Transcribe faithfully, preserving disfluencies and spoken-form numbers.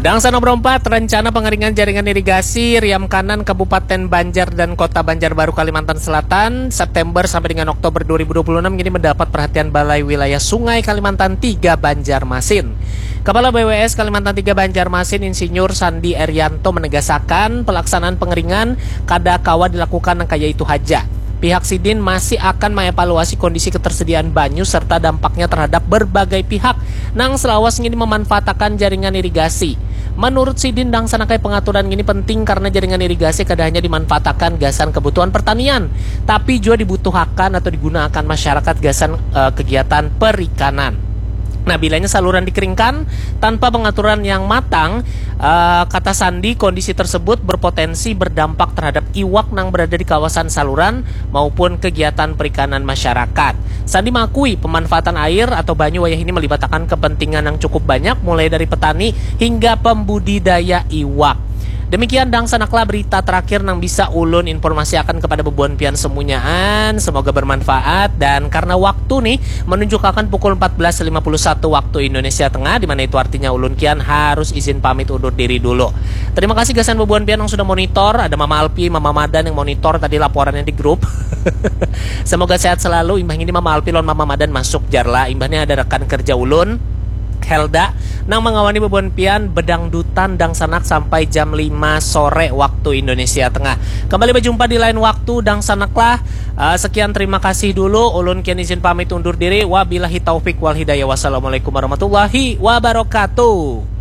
Dangsanak berempat, rencana pengeringan jaringan irigasi Riam Kanan Kabupaten Banjar dan Kota Banjarbaru, Kalimantan Selatan, September sampai dengan Oktober dua ribu dua puluh enam ini mendapat perhatian Balai Wilayah Sungai Kalimantan tiga Banjarmasin. Kepala B W S Kalimantan tiga Banjarmasin, Insinyur Sandi Erianto, menegasakan pelaksanaan pengeringan kada kawa dilakukan nang kaya itu haja. Pihak sidin masih akan mengevaluasi kondisi ketersediaan banyu serta dampaknya terhadap berbagai pihak nang selawas ngini memanfaatakan jaringan irigasi. Menurut sidin, Dangsanakai, pengaturan ngini penting karena jaringan irigasi kada hanya dimanfaatakan gasan kebutuhan pertanian, tapi jua dibutuhakan atau digunakan masyarakat gasan, eh, kegiatan perikanan. Nah, bilanya saluran dikeringkan tanpa pengaturan yang matang, eh, kata Sandi, kondisi tersebut berpotensi berdampak terhadap iwak nang berada di kawasan saluran maupun kegiatan perikanan masyarakat. Sandi mengakui pemanfaatan air atau banyu wayah ini melibatakan kepentingan yang cukup banyak, mulai dari petani hingga pembudidaya iwak. Demikian, Dangsanaklah, berita terakhir nang bisa ulun informasiakan kepada bebuan pian semunyaan. Semoga bermanfaat, dan karena waktu nih menunjukkan pukul empat belas lima puluh satu waktu Indonesia Tengah, di mana itu artinya ulun kian harus izin pamit undur diri dulu. Terima kasih gasan bebuan pian yang sudah monitor. Ada Mama Alpi, Mama Madan yang monitor tadi laporannya di grup. Semoga sehat selalu. Imbah ini Mama Alpi lawan Mama Madan masuk jar lah. Imbah ini ada rekan kerja ulun, Helda, nang mengawani bebuan pian bedangdutan Dangsanak sampai jam lima sore waktu Indonesia Tengah. Kembali berjumpa di lain waktu, Dangsanaklah. Eh, sekian, terima kasih dulu. Ulun kian izin pamit undur diri. Wabillahi taufik wal hidayah. Wassalamualaikum warahmatullahi wabarakatuh.